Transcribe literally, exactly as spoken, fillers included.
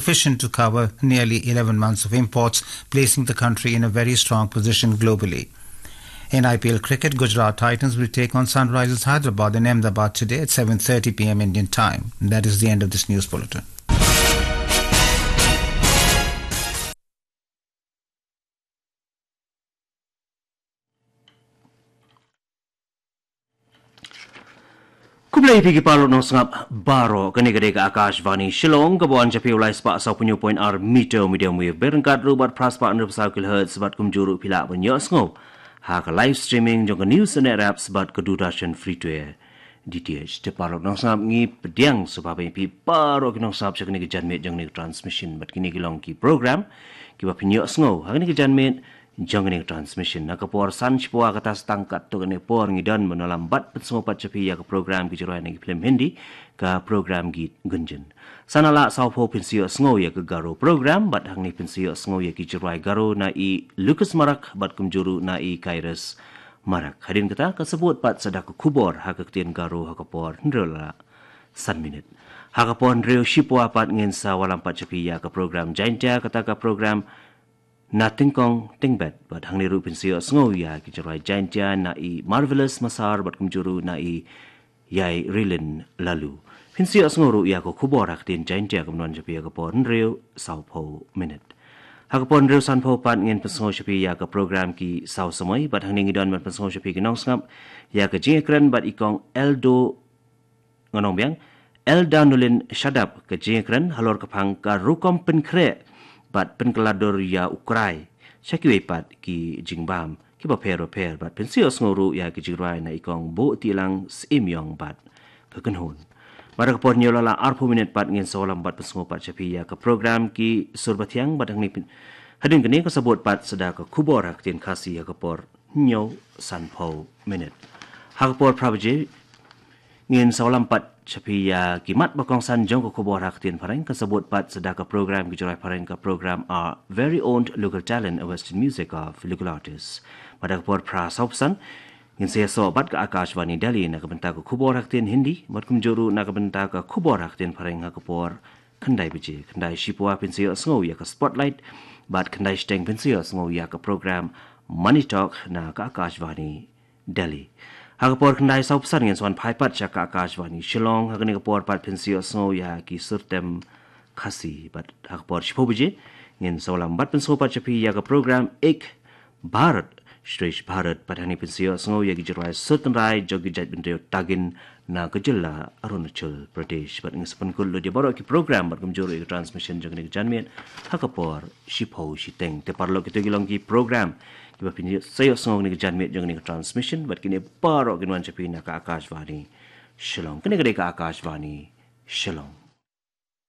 sufficient to cover nearly eleven months of imports, placing the country in a very strong position globally. In I P L cricket, Gujarat Titans will take on Sunrisers Hyderabad in Ahmedabad today at seven thirty p m Indian time. That is the end of this news bulletin. Khublei phi ki paralok nongsngap baroh, kane ka dei ka Akashvani Shillong, ka ban sha phi u lai spah saw phew point ar meter medium wave, bad ryngkat ruh bad phra spah hynriew phew saw kilohertz, bad kumjuh ruh phi lah ban ïohsngew ha ka live streaming jong ka News on Air apps bad ka Doordarshan Free to Air D T H. Te paralok nongsngap, ngi pdiang sngewbha ïa phi baroh ki nongsngap sha kane ka janmiet jong kane ka transmission, bad kine ki long ki program kiba phin ïohsngew ha kane ka janmiet jong kane ka transmission. Ha ka por san shiphew kata sa tang katto katne por ngi don ban ïalam bad pynsngew pat sha phi ïa ka program Ki Jingrwai na ki Film Hindi, ka program Geet Gunjan. San ar spah saw phew phin sa ïohsngew ïa ka Garo program, bad hangne phin sa ïohsngew ïa ki jingrwai Garo na i Lucas Marak bad kumjuh ruh na i Kairos Marak. Hadien kata, kan sa bud pat sa da ka khubor ha ka ktien Garo ha ka por hynriew la san minit. Ha ka por hynriew shiphew pat ngin sa ïalam pat sha phi ïa ka program Jaintia, kata ka program Na Tyngkong Tyngbet, bad hangne ruh phin sa ïohsngew ïa ki jingrwai Jaintia na i Marvelous Massar bad kumjuh ruh na i Ïai Rilin Lalu. Phin sa ïohsngew ruh ïa ka khubor ha ka ktien Jaintia, ka ban wan sha phi ha ka por hynriew saw phew minit. Ha ka por hynriew san phew pat ngin pynsngew sha phi ïa ka program Ki Saw Samoi, bad hangne ngi don ban pynsngew sha phi ki nongsngap ïa ka jingïakren bad i Kong Eldo, ngan ong biang, Elda Nolin Shadap, ka jingïakren halor ka phang ka rukom pynkhreh bad pynkylla dur ïa u krai sha kiwei pat ki jingbam kiba pher bapher, bad phin sa ïohsngew ruh ïa ki jingrwai na i Kong Buhtilang Syiemiong bad ka kynhun. Bad ha ka por hynñiew la lah arphew minit pat ngin sa ïalam bad pynsngew pat sha phi ïa ka program Ki Sur Bathiang, bad hangne phin, hadien kane kan sa bud pat sa da ka khubor ha ka ktien Khasi ha ka por hynñiew san phew minit. Ha ka por phra baje ngin sa ïalam pat sha phi ïa ki mat ba kongsan jong ka khubor ha ka ktien Phareng, kan sa bud pat sa da ka program Ki Jingrwai Phareng, ka program Our Very Own Local Talent, a Western Music of Local Artists. Bad ha ka por phra saw phew san ngin sa ïasoh bad ka Akashvani Delhi na ka bynta ka khubor ha ka ktien Hindi, bad kumjuh ruh na ka bynta ka khubor ha ka ktien Phareng ha ka por khyndai baje. Khyndai shiphew phin sa ïohsngew ïa ka Spotlight, bad khyndai shiteng phin sa ïohsngew ïa ka program Money Talk na ka Akashvani Delhi. Ha ka por khyndai saw phew san ngin sa wan phai pat sha ka Akashvani Shillong, ha kane ka por pat phin sa ïohsngew ïa ki sur tem Khasi, bad ha ka por shiphew baje ngin sa ïalam bad pynsngew pat sha phi ïa ka program Ek Bharat Shresth Bharat, bad hangne phin sa ïohsngew ïa ki jingrwai sur tynrai jong ki jaitbynriew Tagin na ka jylla Arunachal Pradesh. Bad ngin sa pynkut lut ïa baroh ki program bad kumjuh ruh ïa ka transmission jong kane ka janmiet ha ka por shiphew shiteng. Te paralok, kito ki long ki program kiba phin sa ïohsngew ha kane ka janmiet jong kane ka transmission, bad kine baroh kin wan sha phi na ka Akashvani Shillong. Kane ka dei ka Akashvani Shillong.